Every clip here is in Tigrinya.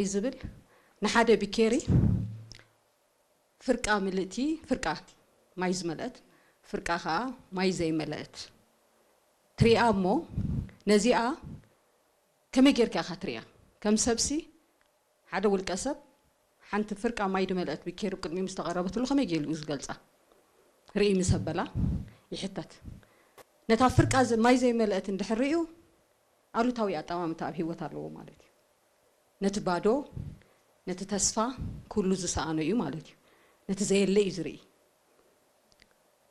እዩ ዝብል። ንሓደ ቢኬሪ ፍርቃ ምልእቲ፣ ፍርቃ ማይ ዝመልአት፣ ፍርቃ ከዓ ማይ ዘይመልአት ትሪኣ። እሞ ነዚኣ ከመይ ጌርካ ኢኻ ትሪኣ? ከም ሰብሲ፣ ሓደ ውልቀ ሰብ ሓንቲ ፍርቃ ማይ ዝመልአት ቢኬሪ ቅድሚኡ ምስ ተቐረበትሉ ከመይ ገይሩ እዩ ዝገልጻ? ርኢ ምስ ኣበላ ይሕተት። ነታ ፍርቃ ዝ- ማይ ዘይመልአት እንድሕር ርእዩ፣ ኣሉታዊ ኣጠማምታ ኣብ ህይወት ኣለዎ ማለት እዩ። ነቲ ባዶ፣ ነቲ ተስፋ፣ ኩሉ ዝሰኣኖ እዩ ማለት እዩ። ነቲ ዘየለ እዩ ዝርኢ።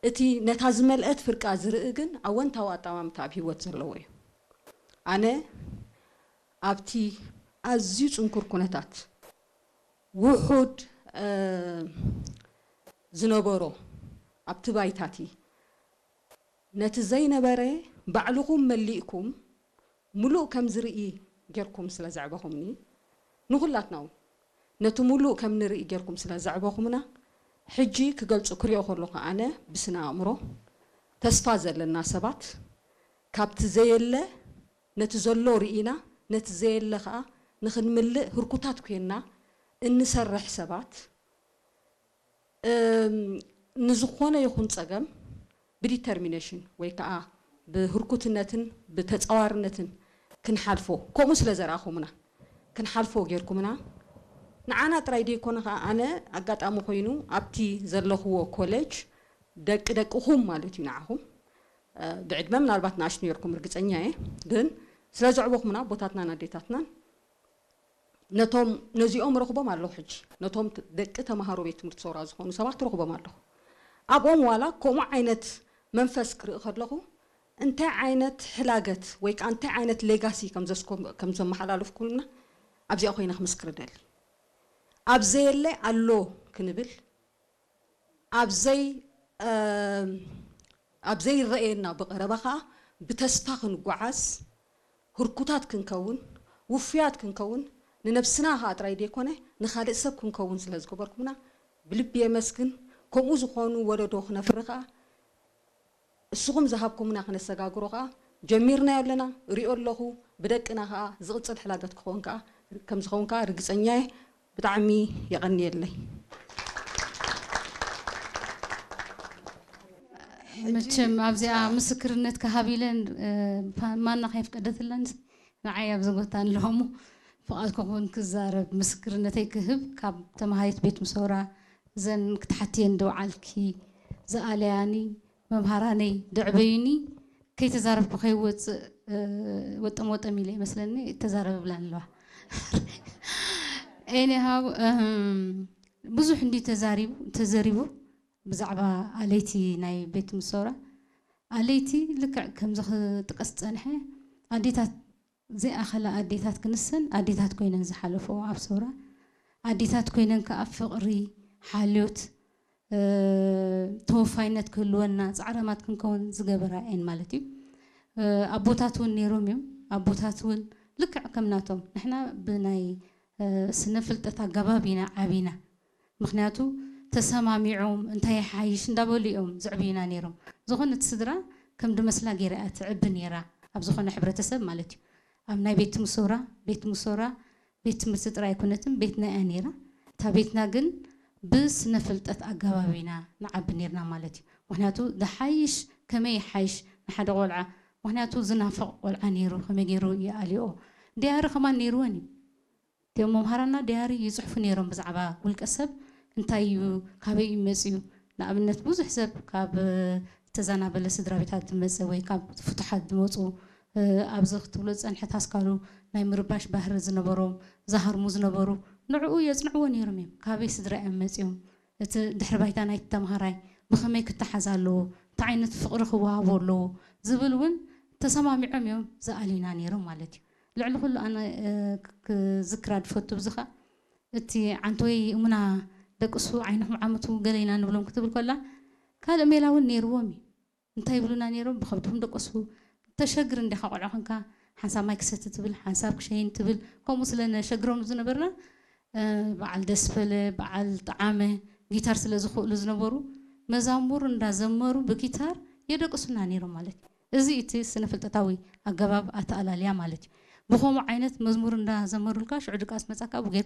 እቲ ነታ ዝመልአት ፍርቃ ዝርኢ ግን ኣወንታዊ ኣጠማምታ ኣብ ህይወት ዘለዎ እዩ። ኣነ ኣብቲ ኣዝዩ ጽንኩር ኩነታት፣ ውሑድ እ፣ ዝነበሮ ኣብቲ ባይታቲ፣ ነቲ ዘይነበረ ባዕልኹም መሊእኩም ምሉእ ከም ዝርኢ ጌርኩም ስለ ዘዕበኹምኒ፣ ንኹላትና እውን ነቲ ምሉእ ከም ንርኢ ጌርኩም ስለ ዘዕበኹምና፣ ሕጂ ክገልጹ ክሪኦ ከለኹ ኣነ ብስነ ኣእምሮ ተስፋ ዘለና ሰባት፣ ካብቲ ዘየለ ነቲ ዘሎ ርኢና፣ ነቲ ዘየለ ኸኣ ንኽንምልእ ህርኩታት ኮይንና እንሰርሕ ሰባት፣ እም፣ ንዝኾነ ይኹን ጸገም ብዲተርሚኔሽን ወይ ከኣ ብህርኩትነትን ብተጻዋርነትን ክንሓልፎ፣ ከምኡ ስለ ዘርኣኹምና፣ ክንሓልፎ ጌርኩምና። ንዓና ጥራይ ደይኮነ ከኣ፣ ኣነ ኣጋጣሚ ኮይኑ ኣብቲ ዘለኽዎ ኮሌጅ ደቂ ደቅኹም ማለት እዩ፣ ንዓኹም፣ እ፣ ብዕድመ ምናልባት ንኣሽቱ ነርኩም፣ ርግጸኛ እየ። ግን ስለ ዘዕበኹምና ኣቦታትናን ኣዴታትናን፣ ነቶም፣ ነዚኦም ረኽቦም ኣለኹ። ሕጂ ነቶም ት- ደቂ ተምሃሮ ቤት ትምህርቲ ሰውራ ዝኾኑ ሰባት ረኽቦም ኣለኹ። ኣብኦም ዋላ ከምኡ ዓይነት መንፈስ ክርኢ ከለኹ፣ እንታይ ዓይነት ሕላገት ወይ ከዓ እንታይ ዓይነት ሌጋሲ ከም ዘስኮም- ከም ዘመሓላለፍኩልና ኣብዚኣ ኮይነ ክምስክር እደሊ። ኣብ ዘየለ ኣሎ ክንብል፣ ኣብ ዘይ- እም፣ ኣብ ዘይረኣየና ብቐረባ ከዓ ብተስፋ ክንጓዓዝ፣ ህርኩታት ክንከውን፣ ውፉያት ክንከውን፣ ንነብስና ከዓ ጥራይ ዘይኮነ ንኻልእ ሰብ ክንከውን ስለ ዝገበርኩምና ብልቢ የመስግን። ከምኡ ዝኾኑ ወለዶ ክነፍሪ ከዓ፣ እስኹም ዝሃብኩምና ክነሰጋግሮ ከዓ ጀሚርናዮ ኣለና፣ ሪኦ ኣለኹ። ብደቅና ከዓ ዝቕጽል ሕላገት ክኸውን ከዓ፣ ከም ዝኸውን ከዓ ርግጸኛ እየ። ብጣዕሚ የቐንየለይ። መቸም ኣብዚኣ ምስክርነት ክሃብ ኢለን፣ እ፣ ፋ- ማና ከየፍቀደትለን ንዓይ ኣብዚ ቦታ ኣለኹ። ፍቓድ ክኹን ክዛረብ፣ ምስክርነተይ ክህብ፣ ካብ ተምሃሪት ቤት ምሶራ፣ እዘን ክትሓትየን ደውዓልኪ ዝኣለያኒ መምሃራነይ ደዕበዩኒ፣ ከይተዛረብኩ ከይወፅእ፣ እ፣ ወጠም ወጠም ኢለ ይመስለኒ ተዛረብ ብላን ኣለዋ። ኤኒሃው ብዙሕ እንዲ ተዛሪቡ ተዘሪቡ ብዛዕባ ኣለይቲ ናይ ቤት ምሶራ። ኣለይቲ ልክዕ ከምዚ ክጥቀስ ዝፀንሐ፣ ኣዴታት ዘይኣኸላ ኣዴታት ክንሰን ኣዴታት ኮይነን ዝሓለፈኦ ኣብ ሰውራ፣ ኣዴታት ኮይነን ከዓ ፍቕሪ፣ ሓልዮት፣ እ፣ ተወፋይነት ክህልወና ፃዕራማት ክንከውን ዝገበራ እየን ማለት እዩ። እ፣ ኣቦታት እውን ነይሮም እዮም። ኣቦታት እውን ልክዕ ከም ናቶም ንሕና ብናይ፣ እ፣ ስነ ፍልጠት ኣገባብ ኢና ዓቢና። ምኽንያቱ ተሰማሚዖም እንታይ ይሓይሽ እንዳበሉ እዮም ዝዕብዩና ነይሮም። ዝኾነት ስድራ ከም ድመስላ ገይራ እያ ትዕቢ ነይራ፣ ኣብ ዝኾነ ሕብረተሰብ ማለት እዩ። ኣብ ናይ ቤት ምሶራ፣ ቤት ምሶራ ቤት ትምህርቲ ጥራይ ኣይኮነትን፣ ቤትና እያ ነይራ። እታ ቤትና ግን ብስነ ፍልጠት ኣገባብ ኢና ንዓቢ ነይርና ማለት እዩ። ምኽንያቱ ዝሓይሽ ከመይ ይሓይሽ ንሓደ ቆልዓ፣ ምኽንያቱ ዝናፈቕ ቆልዓ ነይሩ፣ ከመይ ገይሩ ይኣልዮ። ዲያሪ ከማን ነይርወን እዩ። እቲኦም መምሃራና ዲያሪ ይፅሕፉ ነይሮም ብዛዕባ ውልቀ ሰብ እንታይ እዩ፣ ካበይ እዩ መፅዩ። ንኣብነት ብዙሕ ሰብ ካብ ዝተዛናበለ ስድራ ቤታት ዝመፀ ወይ ካብ ፍቱሓት ዝመፁ፣ እ፣ ኣብዚ ክትብሎ ዝፀንሐት ኣስካሉ ናይ ምርባሽ ባህሪ ዝነበሮም፣ ዝሃርሙ ዝነበሩ፣ ንዕኡ የፅንዕዎ ነይሮም እዮም። ካበይ ስድራ እዮም መፂኦም? እቲ ድሕሪ ባይታ ናይቲ ተምሃራይ ብኸመይ ክተሓዝ ኣለዎ? እንታይ ዓይነት ፍቕሪ ክወሃቦ ኣለዎ? ዝብል እውን ተሰማሚዖም እዮም ዝኣልዩና ነይሮም ማለት እዩ። ልዕሊ ኩሉ ኣነ፣ እ፣ ክ- ክዝክራ ዝፈቱ ብዚ ኸዓ፣ እቲ ዓንተወይ እሙና ደቅሱ ዓይንኹም ዓመቱ ገለ ኢና ንብሎም ክትብል ከላ፣ ካልእ ሜላ እውን ነይርዎም እዩ። እንታይ ይብሉና ነይሮም? ብኸብድኹም ደቀሱ። ተሸግር እንዲኻ ቆልዓ ኾንካ፣ ሓንሳብ ማይ ክሰቲ ትብል፣ ሓንሳብ ክሸይን ትብል። ከምኡ ስለ ነሸግሮም ዝነበርና፣ እ፣ በዓል ደስፈለ፣ በዓል ጠዓመ ጊታር ስለ ዝኽእሉ ዝነበሩ፣ መዛሙር እንዳዘመሩ ብጊታር የደቅሱና ነይሮም ማለት እዩ። እዚ እቲ ስነ ፍልጠታዊ ኣገባብ ኣተኣላልያ ማለት እዩ። ብኸምኡ ዓይነት መዝሙር እንዳዘመሩልካ ሽዑ ድቃስ መጻካ ብጌር